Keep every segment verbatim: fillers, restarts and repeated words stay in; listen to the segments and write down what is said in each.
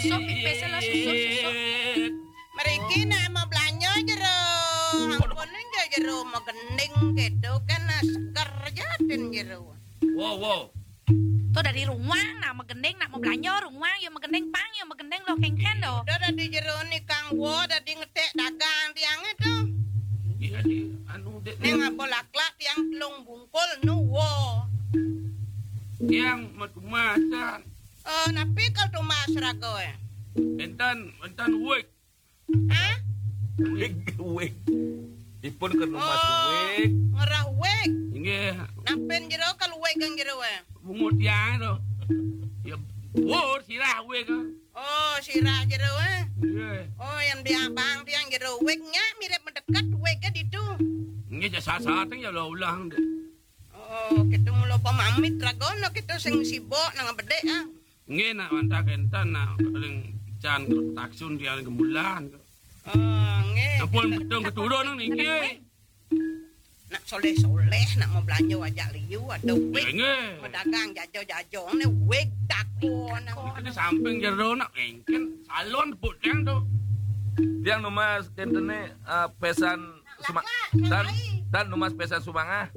Susuh, pipis lo susuh, susuh. Mriki nak mau belanja jero. Ampun aja jero mau gending gitu kan, nah, seger jatin jero. Wow, wow. Tuh dari ruang nak mau gending, nak mau belanja ruang, ya mau gending pang, ya mau gending lo kengken do. Udah dari jero nih Kang Wo, dari ngetek dagang tiang itu. Iya, iya. Anu, Dek. Ning apa laklak tiang telung bungkul nu wo. Tiang mau tumasan. Eh, napi kal tumas raga, eh? Enten, enten wig. Hah? Wig, wig. Ipun ke tumas wig. Ngerah wig. Inggih. Napin jero kal wig kang jero, eh? Bungut tiang to. Ya, wur sirah wig. Oh, sirah jero, eh? Inggih. Oh, yang di abang tiang jero wig nya mirip mendekat wig ke ditu. Inggih, ya saat-saat ya ulah-ulah. Oh, kita mula pamamit ragono kita sing sibuk nang bedek, ah. Nggih, nak wantah kenten, nak paling can taksun tiang gemulan. Oh, nggih. Ampun, betul keturun nang niki. Nak soleh-soleh, nak mau belanja ajak liu, ada wig. Nggih, nggih. Mau dagang jajo-jajo, ne wig tako nang. Itu di samping jero nak engken salon tepuk tiang tu. Tiang numas kenten ne, eh, pesan suma-, tan, tan numas pesan sumangah.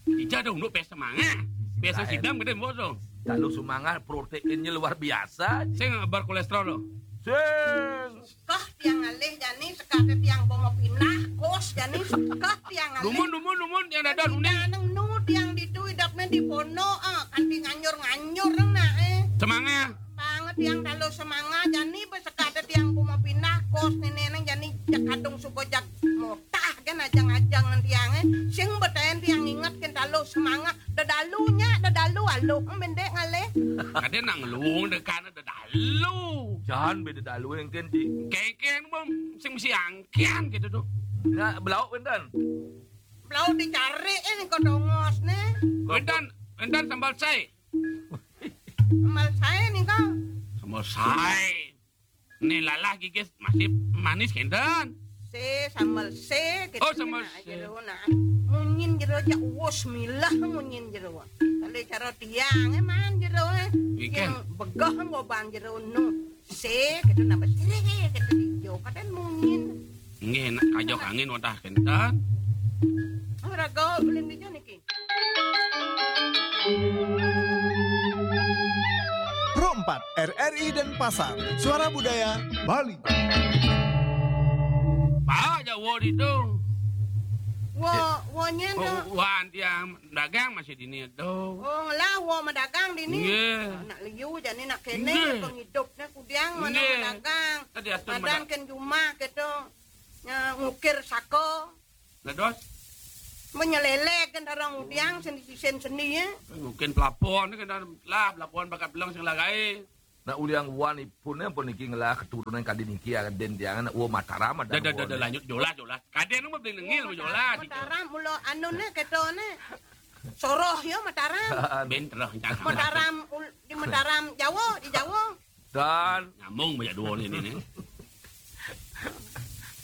Ija dong, nu pesan mangah. Pesan sidam gede mbok dong. Kalau sumangah proteinnya luar biasa. Sing ngabar kolesterol lo. Sing. Kah tiang alih jani, sekate tiang bomo pindah, kos jani, kah tiang alih. Numun, numun, numun, tiang dada nuning. Nang nu tiang ditu idapne di pono, ah, kanti nganjur-nganjur nang nak, eh. Semangah. Banget tiang kalau semangah jani, besekate tiang bomo pindah, kos nenek nang jani, jak kadung suko jak motah kan ajang-ajang tiang, eh. Sing betaen tiang inget kan kalau semangah, dedalunya, dedalu aluh, mendek ngalih. Kade nang luung dekane dedalu. Jan beda dalu engken di. Kengkeng bom sing mesti angkian gitu tuh. Nah, belauk enten. Belauk dicari ini kok dongos nih. Enten, enten sambal sai. Sambal sai nih kau. Sambal sai. Nih lalah gigis masih manis kenten. Se sambal se gitu. Oh, sambal se. Jero nah. Munyin jero aja uwus milah munyin jero. Kali cara tiang, eh, man jero, eh. Ikan. Yang begah ngoban jero nu. Se gitu nambah sirih gitu hijau. Kadang munyin. Nggih, nak kajok angin wantah kenten. Ora gaul ulin hijau niki. Pro empat, R R I Denpasar, Suara Budaya Bali. Pak Jawa di tu. Wo, wo nyen tu. Wan tiang dagang masih dini tu. Oh, ngelah wo medagang dini. Nggih. Nak liu jani nak kene pengidupne kudiang mana medagang. Tadi atun medagang ken jumah gitu. Nya ngukir sako. Dados? Menyelelek kan orang udiang seni sisen seni ya. Mungkin pelapon kan lah pelapon bakat belang sing lagai. Nak udiang wan ipun ya pun niki ngelah keturunan kadi niki ya den tiang nak wo Mataram ada. Dah, dah, dah, dah, lanjut jolas, jolas. Kaden mah beli nengil mah jolas. Mataram mula anu ne ketone. Soroh ya Mataram. Ben terus jangan. Mataram di Mataram Jawa, di Jawa. Dan nyambung banyak dua ni ni.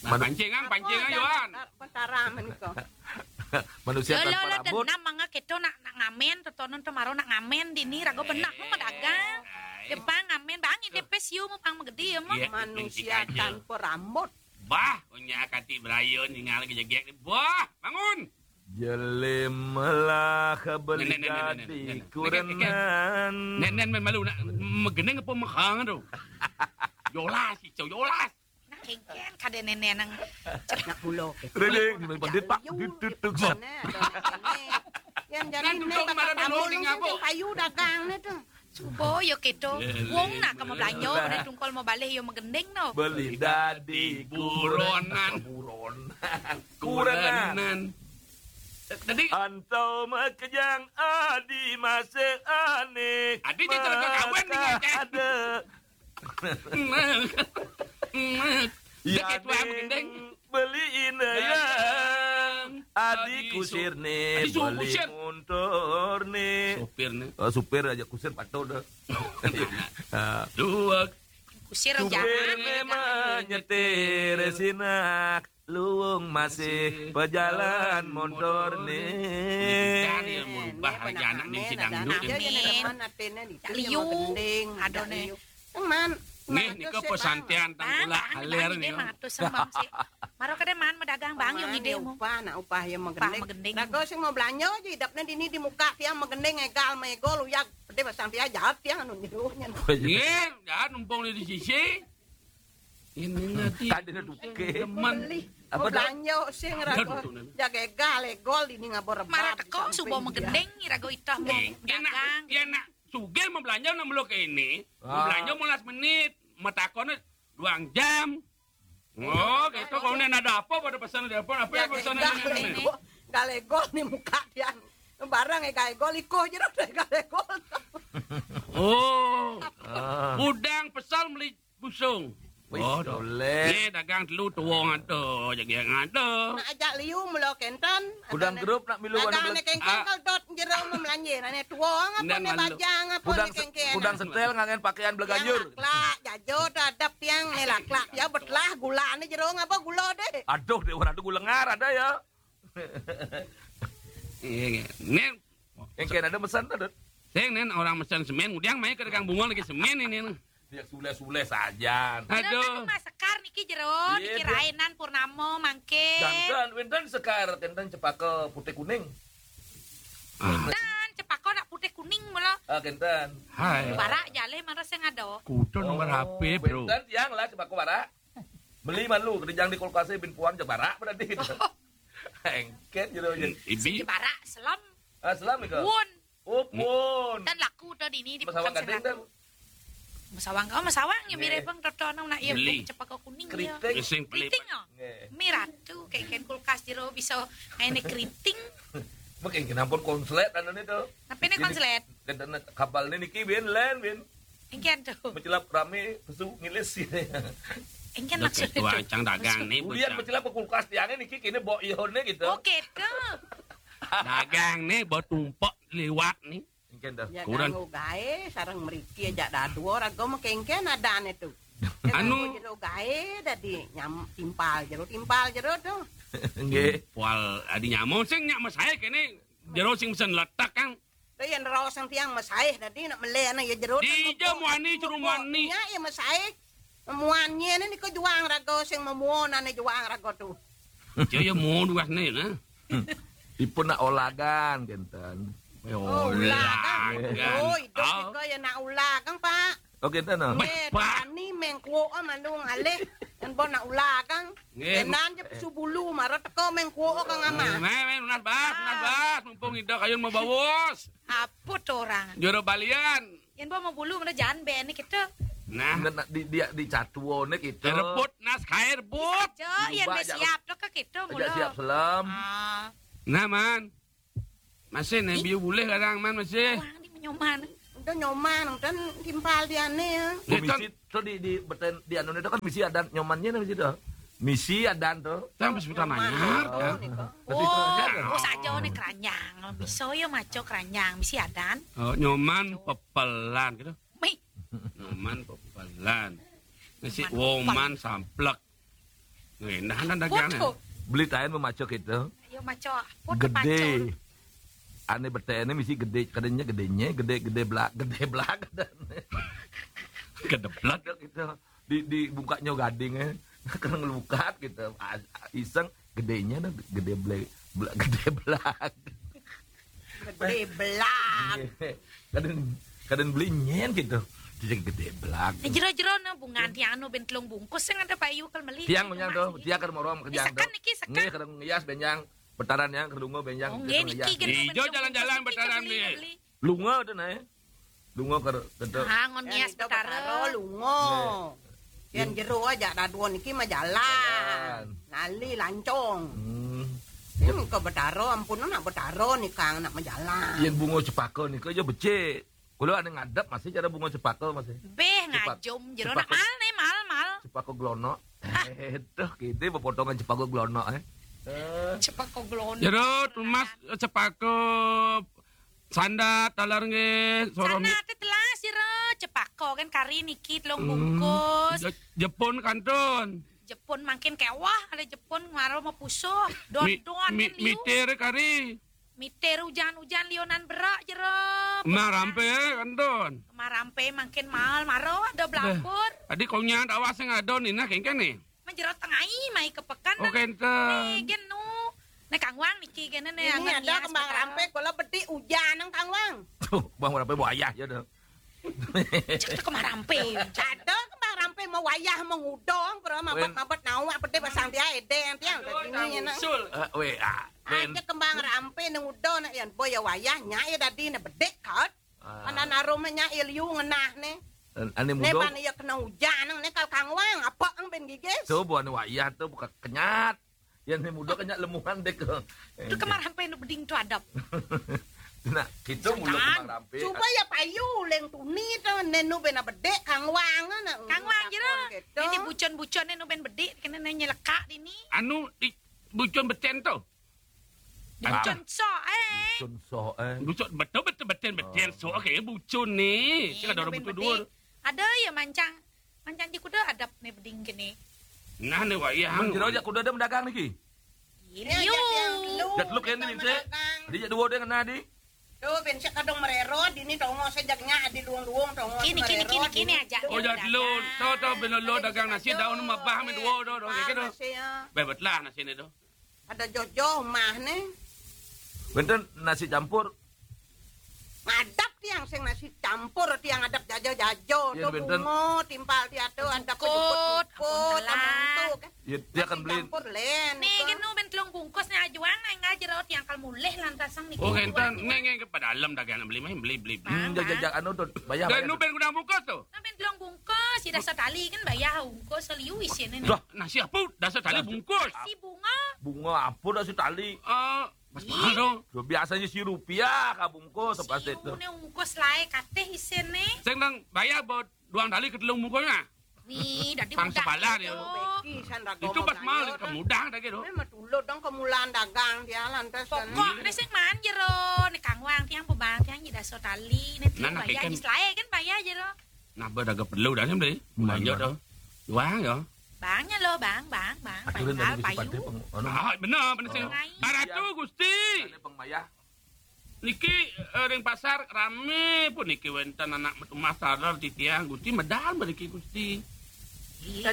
Nah, pancing ang, pancing ang Yohan. Mataram ni ko. Manusia tanpa rambut. Denam mangga keto nak, nak ngamen, totonon temaro nak ngamen dini rago benak mau medagang. Jepang ngamen bang ini pes yu mau pang megedi ya mau. Manusia tanpa rambut. Bah, punya kati berayo ningal ke jegek ni. Bah, bangun. Jelemalah beli dadi kurenan. Nen, nen, men malu nak megeneng apa mekang tu. Yolas, icau yolas. Nak kengken kada nenen nang nak pulo. Redeng, bandit pak, duduk. Yang jadi nek kata tamu ning payu dagang nih tu. Suba ya keto. Wong nak ka mablanja, bener tungkol mabalih ya magending no. Beli dadi buronan. Buronan. Kurenan. Tadi antau makejang adi masih aneh. Adi dia terus kawin ni. Ada. Ya ketua magending. Beli inayang. Adi kusir ni, beli motor ni. Supir ni. Oh, supir aja kusir patut dah. Dua. Kusir aja. Supir ni menyetir sinak. Luung masih pejalan motor ni. Kan ya merubah aja anak ni si dangdut ni. Liu. Aduh ni. Teman. Nggih, nika pesantian tang kula alir nika. Matur sembah sih. Maro kade maan madagang, Bang, yo ngide mo. Upah, nak upah yo magending. Raga sing mau belanja aja idapne dini di muka tiang magending, egal maegol, uyag. Pede pasang tiang jahat tiang anu nyeruhnya. Nggih, jahat numpung di sisi. Ini nanti ada duke. Demen. Apa belanja sing raga. Jaga egal, egol dini ngabor rebat. Mara teko suba magending, raga itah mau dagang. Dia nak sugih mau belanja nak meluk ini. Mau belanja mau last minute. Matakone duang jam. Oh, gitu. Kalau nen ada apa pada pesan telepon, apa ya pesan ini? Galegol ni muka tiang. Barang ya galegol, iko je dah galegol. Oh. Udang pesal meli busung. Wis, oh, boleh. Ni dagang telu tuwong ada, jaga yang ada. Nak ajak liu mula kenten. Kudang grup nak milu dagang warna ne kengkeng kal dot jero memelanjir. Ane tuwong apa ne bajang apa ne kengkeng. Kudang setel ngangen pakaian beleganjur. Laklak, jajo, adap tiang ne laklak. Ya betlah gula ne jero ngapa gula deh. Aduh, dek orang tu gula ngar ada ya. Iya, iya. Nen. Yang kena ada pesan tu, Dut. Sing nen orang mesen semen, udah main ke dagang bunga lagi semen ini. Dia sule-sule saja. Aduh. Mas Sekar niki jero, niki rainan purnama mangke. Jantan, wenten Sekar, kenten cepaka putih kuning. Dan cepaka nak putih kuning mula. Ah, kenten. Hai. Barak jaleh mara sing ada. Kuda nomor H P, bro. Wenten tiang lah cepaka barak. Beli malu, kerja di kulkasnya bin puan je barak berarti gitu. Engken jero je. Ibi. Sing barak selam. Ah, selam ika. Won. Oh, pun. Dan laku tu dini di Masawang Gading dan. Masawang, oh, Masawang ya mirip bang toto nang nak ya cepaka kuning ya. Keriting. Sing pelit. Keriting ya. Nggih. Mirah tu kayak kulkas jero bisa ngene keriting. Makin kenapa konslet anu ni tu. Tapi ni konslet. Kena kapal ni niki bin len bin. Engken tu. Mecelap rame pesu ngilis. Engken maksud tu. Ancang dagang ni. Kemudian mecelap kulkas tiang ni niki kini bok ihon ni gitu. Oh, gitu. Dagang ni bok tumpek liwat ni. Engken dah. Ya, kurang. Ganggu gae sareng mriki aja dadua raga mekengken adane tu. Anu jero gae dadi nyam timpal jero, timpal jero tu. Nggih. Timpal adi nyamong sing nyak mesae kene jero sing mesen letak kan. Yen raos tiang mesae dadi nak mele ana ya jero. Di ija muani jero muani. Nya ya mesae. Muan nyene niku juang raga sing memuonane juang raga tu. Ija ya muon duasne nah. Ipun nak olagan kenten. Oh, olagan. Oh, idup nika ya nak olagan, Pak. Oh, kenten nah. Nggih, tani mengkuo mandung alih. Kan bon nak olagan. Nggih. Tenan je pesu bulu mara teko mengkuo kang ama. Meh, meh, nunas bas, nunas bas, mumpung ida kayun mau bawos. Apa tu orang? Jero balian. Yen bo mau bulu mana jan be ni kita. Nah. Di, di, di catuone kita. Rebut nas kae rebut. Aja, yen be siap tu ke kita mula. Aja siap selam. Ah. Nah, man. Masih nih biu boleh kadang man masih. Wah, di nyoman. Udah nyoman, kan timpal dia ni ya. Misi tu di, di beten di anu tu kan misi adan nyomannya ni misi tu. Misi adan tu. Tang pas pertama nanya. Oh, oh, saja ni keranjang. Bisa ya maco keranjang, misi adan. Oh, nyoman pepelan gitu. Mih. Nyoman pepelan. Nasi woman samplek. Nah, nah, nah, dagang. Beli tain memaco gitu. Ayo maco. Gede. Ane betene misi gede, kadenya gedenya, gede, gede belak, gede belak. Gede belak gitu. Di, di bungkaknya gading eh. Kena ngelukat gitu. Iseng gedenya dah gede belak, gede belak. Gede belak. Kadang kadang beli nyen gitu. Dia gede belak. Jero-jero na bungan tiang anu ben telung bungkus sing ada payu kal meli. Tiang menyang tu, tiang keur morong kerjaan tu. Sekan niki sekan. Nggih, kadang ngias benjang, betaran yang kerdungo benjang. Oh, nggih niki. Ijo jalan-jalan betaran beli. Lunga tu nae. Lunga ker ketu. Ah, ngon ngias betara. Lunga. Yang jero aja dadua niki mah jalan. Lali lancong. Hmm. Hmm, ke betara ampun nak betara ni kang nak majalan. Yang bunga cepaka ni ke aja becik. Kulo ane ngadep masih cara bunga cepaka masih. Beh ngajum jero nak mal ni mal mal. Cepaka glonok. Eh, tuh kita berpotongan cepaka glonok eh. Cepaka glonok. Jero tumas cepaka sandat taler nggih, soroh. Sandat telas sira cepaka kan kari niki telung bungkus. Jepun kantun. Jepun makin kewah ada Jepun ngaro mau pusuh. Don don kan liu. Mitir kari. Mitir hujan-hujan lionan berak jero. Marampe kantun. Marampe makin mahal maro ada belabur. Adi konyang dawa sing ada nina kéngkén né. Majero tengai mai ke pekan. Oh, kénten. Né gén nu. Né Kang Wang niki kéné né. Ini ada kembang rampe, kula bedik ujan nang Kang Wang. Tuh, kembang rampe buaya ya dah. Cek tuh kembang rampe. Ada kembang rampe mau wayah mau ngudong, pura mabet-mabet nawa bedik pasang dia edeng tiang. Aduh, ini enak. Usul. Eh, weh, ah, Ada kembang rampe nang udo nak yan boya wayah nya ya dadi né bedik kot. Ah. Anak narumnya iliu ngenah né. Ané mudo. Né ban iya kena ujan nang né kal Kang Wang apa ang ben gigis. Tuh buan wayah tuh buka kenyat. Ya né mudo kenyat lemuhan dek. Itu kemarin apa nu beding tuh adap. Nah, kita mudo kembang rampe. Coba ya payu leng tuni tuh né nu ben bedik Kang Wang na. Kang Wang jero. Ini bucon-bucon né nu ben bedik kena né nyelekak dini. Anu di bucon beten tuh. Bucon sok eh. Bucon sok eh. Bucon betul betul beten beten sok oke bucon né. Sing ada orang butuh dua. Ada ya mancang mancang di kuda adap né beding kéné. Nah né wayah. Mun jero jak kuda ada mendagang niki. Iya. Jat lu kéné bisa. Di jak dua deh kena di. Tuh ben sik kadung merero dini tongo sejak nya adi luung-luung tongo. Kini kini kini kini aja. Oh jat lu. Tuh tuh ben lo dagang nasi daun mabah men dua do do gitu. Bae betlah nasi né do. Ada jojo mah né. Benten nasi campur. Ngadap tiang sing nasi campur tiang adap jajo-jajo. Iya, tuh benten. Bungo timpal tiatu ada pejukut-jukut. Iya, dia akan beli. Campur lén. Nih, gitu ben telung bungkus nih ajuang nang aja raut yang kal mulih lantasang nih. Oh, kénten né ngé ke padalem dagang beli mah beli beli beli. Hmm, jajak anu tuh bayar. Dan nu ben gudang bungkus tuh. Nah, ben telung bungkus, si dasar tali kan bayar bungkus seliu isiné nih. Dah, nasi apa? Dasar tali bungkus. Si bunga. Bunga apa dasar tali? Eh, Mas mahal dong. Biasanya si rupiah kabungkus pasti itu. Né ungkus lae kateh isiné. Sing nang bayar buat duang tali ke telung bungkusnya. Nih, dadi pang sepalan ya. Itu pas mahal itu mudah dah gitu. Memang dulu dong kemulan dagang dia lantas. Pokok né sing man jero né Kang Wang tiang bebang tiang jadi so tali né tiang bayar jis lae kan bayar jero. Nah, berdagang perlu dah nih beli. Belanja tuh. Wang ya. Bangnya lo, Bang, Bang, Bang. Aturin tadi bisi payu. Ah, bener, bener sih. Baratu Gusti. Ada Bang Mayah. Niki eh, ring pasar rame pun niki wénten anak metu mas sadar titiang Gusti medal mriki Gusti. Iya,